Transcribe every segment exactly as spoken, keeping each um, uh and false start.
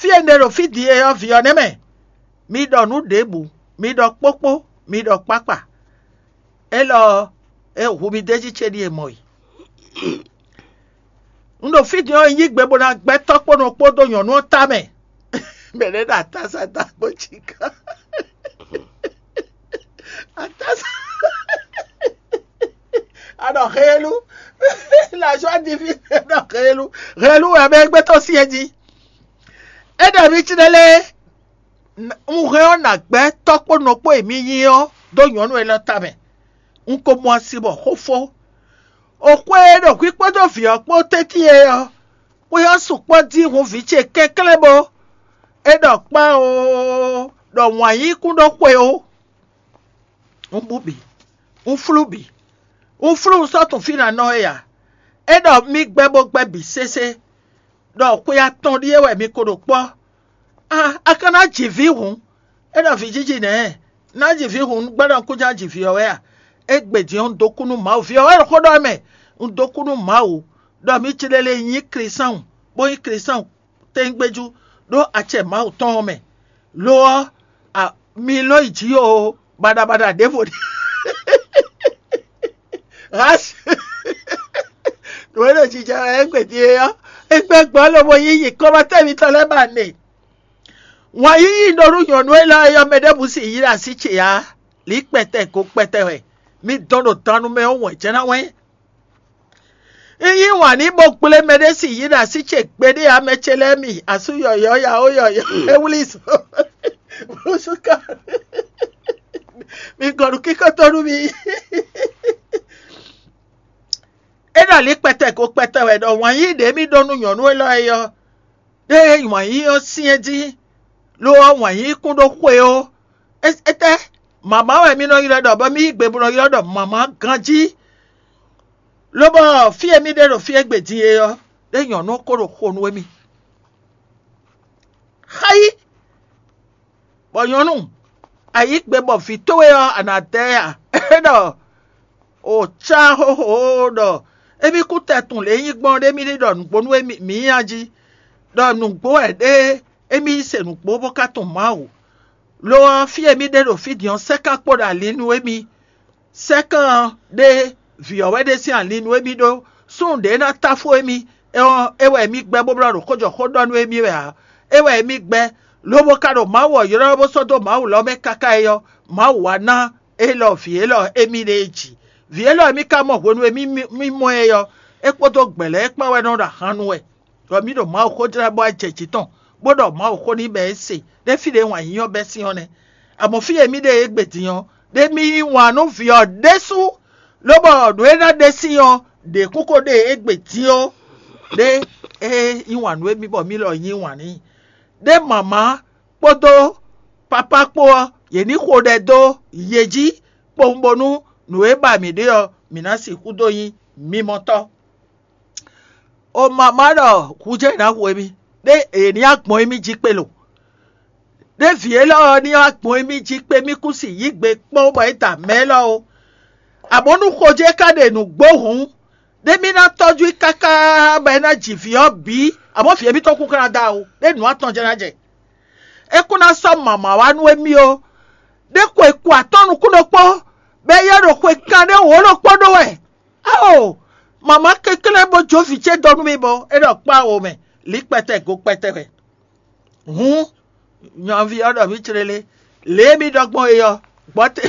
Fí e un ɖe ɖo fí din é ɔ́, vǐ ɔ́ nɛ́ mɛ. Mi ɖɔ nǔ ɖěbǔ, mi ɖɔ kpókpó, mi ɖɔ kpákpa. Élɔ́ ɔ́, é hu mi d'é jí ce ɖíe mɔ e. Un ɖo fí din ɔ́, un yí gbe bó ná gbɛ́ tɔ́ kpó nɔ kpódó nyɔ̌nu ɔ́ tamɛ. Mɛ ɖé ɖo atása dó agbo jí gán. Atása. A ɖɔ helu. La joie divine, a ɖɔ helu. Helu wɛ mɛ gbɛtɔ́ syɛ́n jí. É ɖɔ mi cí ɖé lé. Un hɛn ɔ́ nǎ gbɛ́ tɔ́ kpó nɔ kpó e mi nyí ɔ́ dó nyɔ̌nu élɔ́ tamɛ. Un ko mɔ asi bɔ xó fó. O xwé e ɖo hwǐ kpódó vǐ ɔ́ kpó tɛ́ntin é ɔ́, xwé ɔ́ sukpɔ́ dín hun vǐ ce kɛnklɛ́n bó. É ɖɔ kpán oo, ɖɔ wǎn yí kún ɖó xwe ó. Un bú bǐ, un flú bǐ, un flú un sɔ́ tunwun fí ná nɔ é ǎ. É ɖɔ mì gbɛ́ bó gbɛ́ bǐ sésé, ɖɔ xwe atɔn ɖíe wɛ mi ko ɖo kpɔ́. A a ka ná ji vǐ hǔn? É ɖɔ vǐ jiji nɛ̌? Ná ji vǐ hǔn, gbɛ́ ɖɔ un kún já ji vǐ ɔ́ wɛ a? Égbé din ɔ́, un dó kú nú Mawu. Vǐ ɔ́ wɛ ɖo xó ɖɔ mɛ, un dó kú nú Mawu, ɖɔ mi ci lele nyí Klísáun, bó nyí Klísáun tɛ́ngbéjú ɖó acɛ Mawu tɔn ɔ́ mɛ. Lo ɔ́, a, mi lɔ́ yi jǐ oo, baɖabaɖa ɖěvo ɖi. Hasi. Nǔ e ɖo jijɛ wɛ égbé din é ɔ́, é gbɛ́ gbɔn lobo yí yi kɔ́mɔtɛ́ mitɔn lɛ́ɛ ba nɛ. Wǎn yíyí ɖo nú nyɔ̌nu élɔ́ e yɔ mɛ ɖěbǔ sin yí ɖo así ce ǎ. Lǐ kpɛtɛ go kpɛtɛ wɛ. Mi dɔn ɖo dannu mɛ ɔ́ wɛn jɛ́n ná wɛn. Un yí wǎn n'i bó gblé mɛɖé sin yí ɖo así ce gbeɖé ǎ, mɛ ce lɛ́ɛ mi asú yɔ̌yɔ́ yawó yɔ̌yɔ́ é wlí zo. Búsúká. Mi gɔn nǔ kíkó tó nú mi. É ɖo alǐ kpɛtɛ ko kpɛtɛ wɛ ɖɔ wǎn yí ɖě mì ɖó nú nyɔ̌nu élɔ́ é ɔ́, ɖé wǎn yí ɔ́ syɛ́n jí, lo ɔ́ wǎn yí kún ɖó xwe ó. Étɛ́ mama wɛ mì nɔ ylɔ́ ɖɔ bɔ mì yí gbe bó nɔ ylɔ́ ɖɔ mama ganjí? Lobɔ fí e mì ɖe ɖo fí e gbe din é ɔ́, ɖé nyɔ̌nu ko ɖo xo nú émí. Xáyí, bɔ nyɔ̌nu, a yǐ gbe bɔ vǐ towe ɔ́, a nǎ dɛ ɛ a? É ɖɔ o cá xóxó ɖɔ émí kú tɛtun lě nyí gbɔn ɖé mì ɖi ɖɔ nǔgbó nú émí mǐ nya jí, ɖɔ nǔgbó wɛ ɖé émí yi se nǔgbó bó ka tunwun Mawu. Lo ɔ́, fí e mì ɖe ɖo fí din ɔ́, sɛ́ kan kpo ɖo ali nú émí. Sɛ́kan ɔ́ ɖé vǐ ɔ́ wɛ ɖe sín ali nú émí ɖó. Súnnu ɖě ná táfó émí, é ɔ́, é wɛ émí gbɛ́ bó blɔ́ ɖo xó jɔ xó ɖɔ nú émí wɛ ǎ. É wɛ émí gbɛ́, lobo ka ɖo Mawu ɔ́ ylɔ́ bó sɔ́ dó Mawu lɔ mɛ káká é ɔ́, Mawu wá ná élɔ́ vǐ élɔ́ émí ɖe é jǐ. Vǐ élɔ́ émí ka mɔ hwenu e mì mɔ ɛ ɔ́, é kpódó gbɛ̌ lɛ́ɛ kpán wɛ nɔ ɖo ahan nu wɛ. Ɖɔ mì ɖo Mawu xó jlá bɔ ajɛ jǐ tɔn, bó ɖɔ Mawu xó n'i bɔ é se ɖé fí ɖě wǎn yíyí ɔ́ bɛ́ sín ɔ́ nɛ́. Amɔ̌ fí e mì ɖe égbé din ɔ́, ɖé mì yí wǎn nú vǐ ɔ́ ɖésú, lóbɔ nǔ e ná ɖe sín ɔ́, ɖě kún ko ɖe égbé din ó. Ɖé é yí wǎn nú émí bɔ mì lɔ yí wǎn n'i. Ɖé mama kpódó papá kpó ɔ́, yě ní xo ɖɛ dó yě jí kpowun bónú nǔ e ba mǐ ɖe ɔ́, mǐ ná sixú dó nyí mimɔtɔ́. O mama ɖɔ hujɛ ná hu émí, ɖé è ní agbɔn émí jí kpé lo. Ɖé vǐ élɔ́ ɔ́ ní agbɔn émí jí kpé mì kú si yí gbe kpɔ́n bɔ é da mɛ élɔ́ ó. Amɔ̌ nú xojɛ ka ɖe nǔgbó hǔn, ɖé mì ná tɔ́jú i káká bɔ é ná ji vǐ ɔ́ bǐ, amɔ̌ vǐ émítɔn kún ka ná da o, ɖé nǔ atɔn jɛ́n ná jɛ. É kún ná sɔ́ mama wá nú émí ó. Ɖé ko è ku atɔ́ nukún ɖokpó, bɔ é yɔ ɖo xwe kan ɖé wǒ ɖokpó ɖó wɛ. Ao, mama kɛnklɛ́n bó jó vǐ ce dó nú mì bɔ é ɖɔ kpá wo mɛ, lǐ kpɛtɛ go kpɛtɛ wɛ. Hǔn, nyaví ɔ́ ɖɔ mǐ clélé, lě e mì ɖɔ gbɔn é ɔ́, gbɔ́ te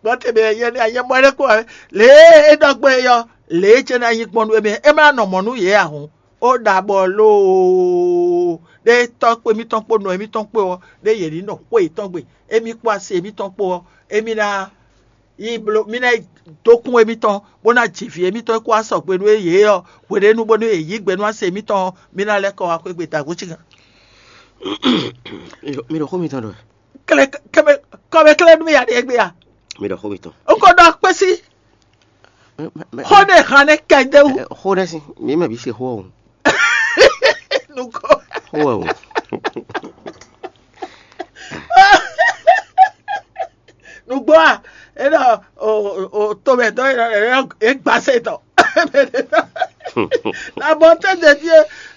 gbɔ́ te mɛ yɛ ní anyɛ mɔ ɖé kó wɛ, lě e é ɖɔ gbɔn é ɔ́, lě e jɛ́n ná nyí gbɔn nú émí, é má nɔ mɔ̌ nú yě ǎ hǔn. Ó ɖa bɔ loo ɖé tɔ́ kpé mítɔn kpó nɔ émítɔn kpó ɔ́, ɖé yě ní nɔ xwé yětɔn gbe, émí kpó asi émítɔn kpó ɔ́, émí ná yi bló mí ná yi dó kún émítɔn, bó ná ji vǐ émítɔn e kó wá sɔgbe nú yě ɔ́ hweɖénu, bónú yě yí gbe nú asi émítɔn ɔ́, mí ná lɛ́ kɔ wá xwé gbe dagbo cígan. Mi ɖo xó mitɔn ɖɔ. Kɛmɛ kɛmɛ kɔmɛ kɛlɛ nú mi ya ɖe gbé ya. Mi ɖɔ xó mitɔn. N ko ɖɔ kpé sí. Xó ɖe hàn ne kɛndé wú. Xó ɖe si mi mɛ bi se xó o. Nukɔ. Xó o. Nugbo a, e ɖɔ o o tomɛ dɔ e ɖɔ e gba se tɔ. La bonté de Dieu,